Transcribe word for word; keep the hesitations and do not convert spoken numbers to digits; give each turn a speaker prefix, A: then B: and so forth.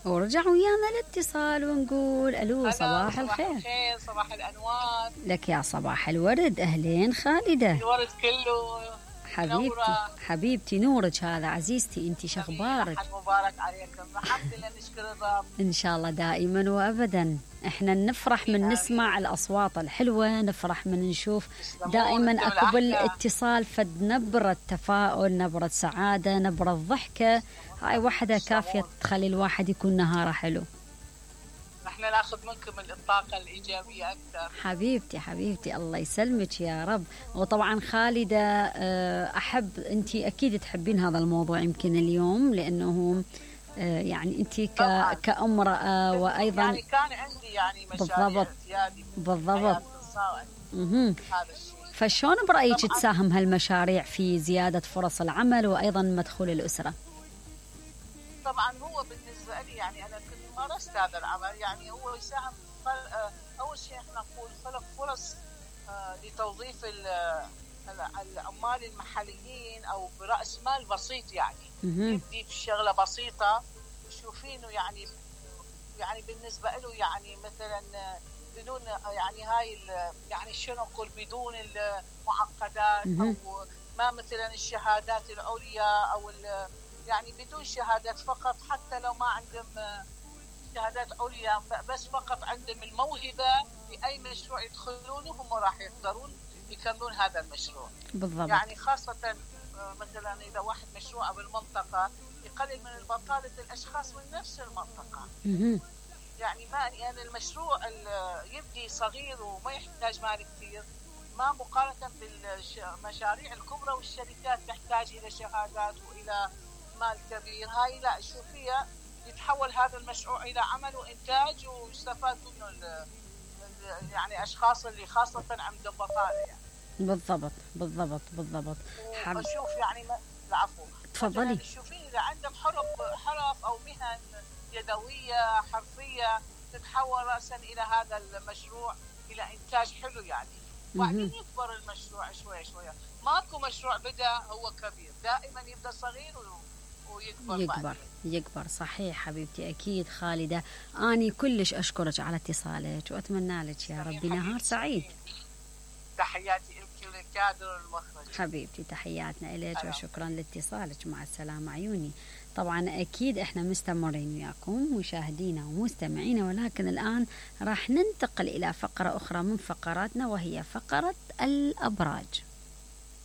A: ورجع ويانا الاتصال ونقول الو صباح الخير.
B: صباح الخير، صباح الانوار
A: لك يا صباح الورد. اهلين خالده.
B: الورد كله
A: حبيبتي
B: نورة.
A: حبيبتي نورك هذا عزيزتي. انت شخبارك؟
B: مبارك عليكم. الحمد لله نشكر الرب.
A: ان شاء الله دائما وابدا. احنا نفرح من نسمع الاصوات الحلوه، نفرح من نشوف دائما اكو بالاتصال فد نبره تفاؤل، نبره سعاده، نبره ضحكه. هاي وحده كافيه تخلي الواحد يكون نهاره حلو.
B: نحن ناخذ منكم الطاقه الايجابيه اكثر.
A: حبيبتي حبيبتي الله يسلمك يا رب. وطبعا خالده احب انت اكيد تحبين هذا الموضوع يمكن اليوم، لانه يعني انت كامراه وايضا
B: يعني كان عندي يعني مشاريع زياده
A: بالضبط بالضبط. هذا الشيء. فشلون برايك تساهم هالمشاريع في زياده فرص العمل وايضا مدخول الاسره؟
B: طبعا هو بالنسبه لي يعني انا كنت مارست هذا العمل، يعني هو يساهم. اول شيء احنا نقول خلق فرص لتوظيف العمال المحليين او براس مال بسيط، يعني يبدي بشغله بسيطه تشوفينه يعني يعني بالنسبه له يعني مثلا بدون يعني هاي يعني شنو نقول بدون المعقدات او ما مثلا الشهادات العليا او يعني بدون شهادات فقط، حتى لو ما عندهم شهادات عليا بس فقط عندهم الموهبه باي مشروع يدخلونه هم راح يقدرون يكملون هذا المشروع.
A: بالضبط.
B: يعني خاصه مثلا اذا واحد مشروع بالمنطقه يقلل من البطاله الاشخاص من نفس المنطقه. يعني ما يعني المشروع يبدي صغير وما يحتاج مال كثير، ما مقارنه بالمشاريع الكبرى والشركات تحتاج الى شهادات والى مال كبير. هاي لا شوفيها يتحول هذا المشروع الى عمل وانتاج ويستفاد منه يعني اشخاص اللي خاصه عندهم بطاله يعني.
A: بالضبط بالضبط بالضبط.
B: حب اشوف يعني العفو
A: تفضلي.
B: تشوفين اذا عندهم حرف حرف او مهن يدويه حرفيه تتحول راسا الى هذا المشروع الى انتاج حلو يعني. وبعدين يكبر المشروع شويه شويه. ماكو مشروع بدا هو كبير، دائما يبدا صغير ويكبر
A: يكبر بعدين. يكبر صحيح حبيبتي. اكيد خالده اني كلش اشكرك على اتصالك واتمنى لك يا ربي نهار سعيد.
B: تحياتي لك وللكادر والمخرج.
A: حبيبتي تحياتنا لك وشكرا لاتصالك. مع السلامه عيوني. طبعا اكيد احنا مستمرين وياكم مشاهدينا ومستمعينا، ولكن الان راح ننتقل الى فقره اخرى من فقراتنا وهي فقره الابراج.